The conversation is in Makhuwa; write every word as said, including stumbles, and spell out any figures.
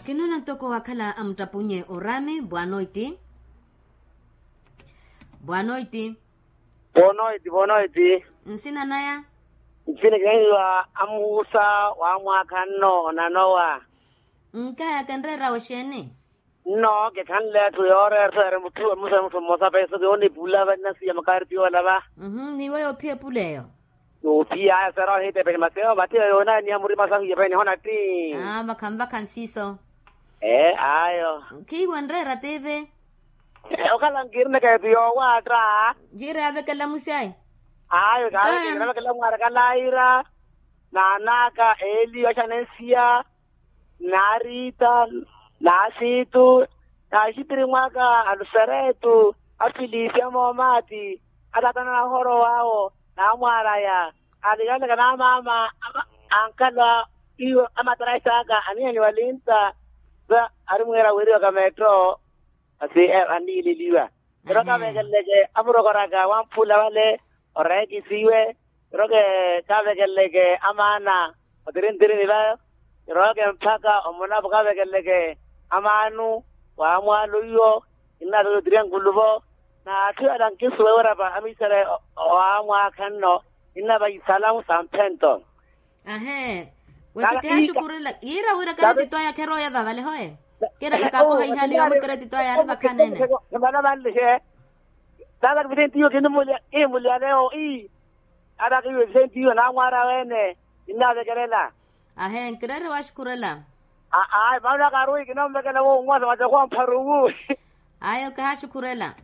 Kinoona ntoko wakhala amuttapunye orami bwanoiti. Bwanoiti. Bwanoiti bwanoiti. Nsina naya? Nsina kinahiwa amuhusa wa mwaakha nno onanowa. Nkaya kenreera oxeeni? Nno kikhanle etthu yooreera etthu eri mutthu emusa mutthu mmosa peso kiwonipula vanna siya makaari tiyoolava. Niiwe yoophiya epula eyo. Yoophiya aya sera ohitepeni masi eyo vatiyo yoonaaniha murima sahu yepeni hona tti. Vakhanvakha nsiso. Ee ayo. Khiiwe nreera tivi? Okhala nkirinaka etu yoowaatta. Jiira yavekela musyayi. Ayo kaavekela mwaaraka laira. Naanaka eeli waxanensiya. Naariita, naasiitu, naaxitiri mwaka aluseretu, afilisiya moomaati, ataatana nahorowawo, naamwaalaya, alikalaka naamaama. Ankhala iyo amataraxi aka anihanyiwa linta. Sa arimwiira wiriwaka meetto. Masi anniileliwa. Ero kavekeleke amurokoraka wamphula vale, oreekisiwe. Ero kavekeleke amaana otirintirini vayo. Ero kemphaka omonavo kavekeleke amaanu. Waamwaalo iwo, innaataka otiriya nkuluvo. Na atthu yala nkisuwa ewarapa amiisele. Waamwaakha nno, innavayi isalamu sa mphento. Ahe. Wesi kihaxukurela yiira wira karetito aya kherooya vavale hoye. Kiira kakakoha ihali yoomwe karetito aya ari vakhaneene. Khimala vanlixe. Taata kivisentiyo kinimulya iimulya leo ii. Taata kiyo evisentiyo naamwaara weene. Kinnaavekelela. Ahe nkireere waxukurela. Aa maana karuwi kinoomvekela wo onwasa macaku ampharuwu. Ayo kihaxukurela.